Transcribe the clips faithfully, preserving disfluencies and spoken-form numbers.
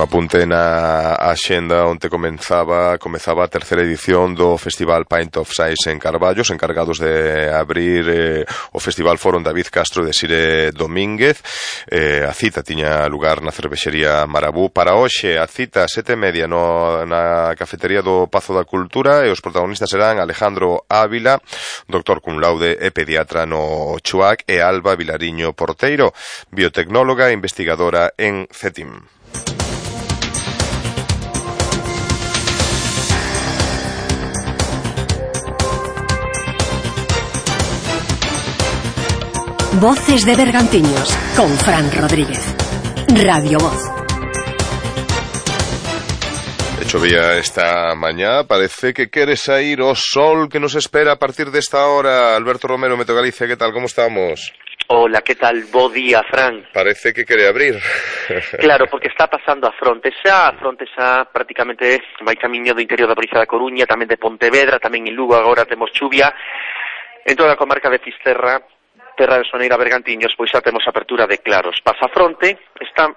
apunte na axenda onde comenzaba comezaba a terceira edición do Festival Pint of Size en Carballo. Os encargados de abrir eh, o festival foron David Castro e Desire Domínguez. Eh, a cita tiña lugar na cervexería Marabú. Para hoxe a cita sete e media no, na cafetería do Pazo da Cultura, e os protagonistas serán Alejandro Ávila, doctor cum laude e pediatra no Chuac, e Alba Vilariño Porteiro, biotecnóloga e investigadora en CETIM. Voces de Bergantiños con Fran Rodríguez. Radio Voz. Chovía esta mañá, parece que quere sair o sol que nos espera a partir desta hora. Alberto Romero, Meteo Galicia, que tal, como estamos? Hola, que tal? Bo día, Fran. Parece que quere abrir. Claro, porque está pasando a fronte xa, a fronte xa prácticamente vai camiño do interior da provincia da Coruña, tamén de Pontevedra, tamén en Lugo agora temos chuvia. En toda a comarca de Fisterra, Terra de Soneira, Bergantiños, pois xa temos apertura de claros. Pasa a fronte, está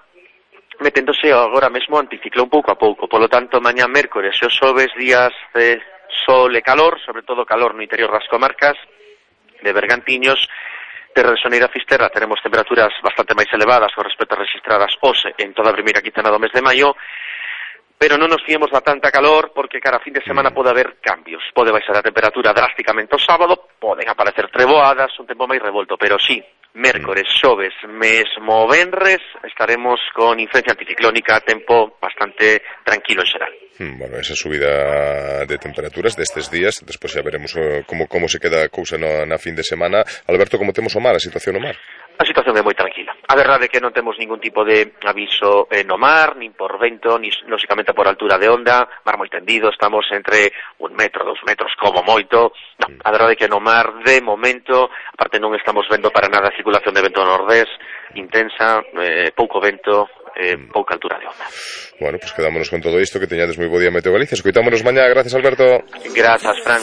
meténdose agora mesmo anticiclón pouco a pouco, polo tanto, mañá mércores e os xoves días de sol e calor, sobre todo calor no interior das comarcas de Bergantiños, Terra de Soneira, Fisterra, teremos temperaturas bastante máis elevadas con respecto a registradas hoxe en toda a primeira quincena do mes de maio, pero non nos fiemos da tanta calor porque cara a fin de semana pode haber cambios, pode baixar a temperatura drásticamente o sábado, poden aparecer treboadas, un tempo máis revolto, pero sí, mércores, xoves, mesmo venres, estaremos con influencia anticiclónica, tempo bastante tranquilo en xeral. Bueno, esa subida de temperaturas destes días, despois xa veremos uh, como, como se queda a cousa na, na fin de semana. Alberto, como temos o mar, a situación no mar? A situación é moi tranquila. A verdade é que non temos ningún tipo de aviso eh, no mar, nin por vento, ni lógicamente por altura de onda, mar moi tendido, estamos entre un metro, dos metros como moito. No, a verdade é que no mar, de momento, aparte non estamos vendo para nada a circulación de vento nordés, intensa, eh, pouco vento, eh, pouca altura de onda. Bueno, pues quedámonos con todo isto, que teñades moi bo día, Meteo Galicia. Escoitámonos mañá, gracias, Alberto. Grazas, Fran.